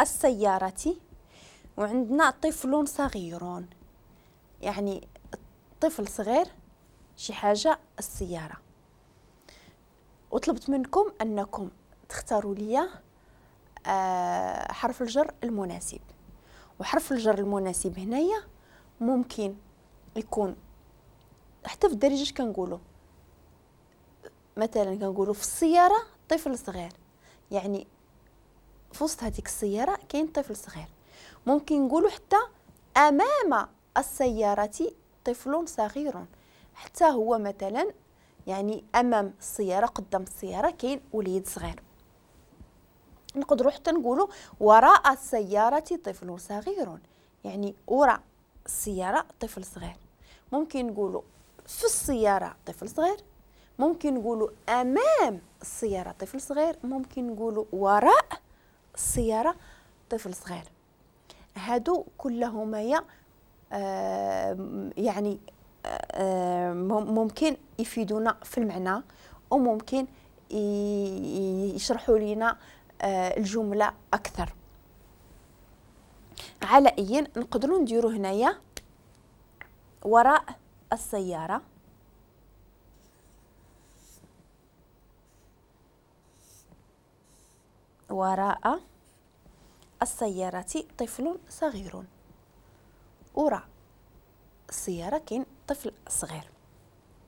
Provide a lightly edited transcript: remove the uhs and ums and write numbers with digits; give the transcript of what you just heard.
السيارة وعندنا طفل صغير، يعني طفل صغير شي حاجة السيارة. وطلبت منكم أنكم تختاروا لي حرف الجر المناسب، وحرف الجر المناسب هنايا ممكن يكون حتى في الدارجة كنقولوا مثلا كنقولوا في السيارة طفل صغير، يعني في وسط هذيك السيارة كاين طفل صغير. ممكن نقولوا حتى أمام السيارة طفل صغير، حتى هو مثلا يعني أمام السيارة قدام السيارة كاين وليد صغير. نقدروا حتى نقولوا وراء السيارة طفل صغير، يعني وراء السيارة طفل صغير. ممكن نقولوا في السيارة طفل صغير، ممكن نقولوا أمام السيارة طفل صغير، ممكن نقولوا وراء السيارة طفل صغير. هادو كلهما يعني ممكن يفيدونا في المعنى، وممكن يشرحوا لنا الجملة أكثر. على أي نقدروا نديروا هنايا وراء السيارة وراء السيارة طفل صغير، وراء السيارة كاين طفل صغير.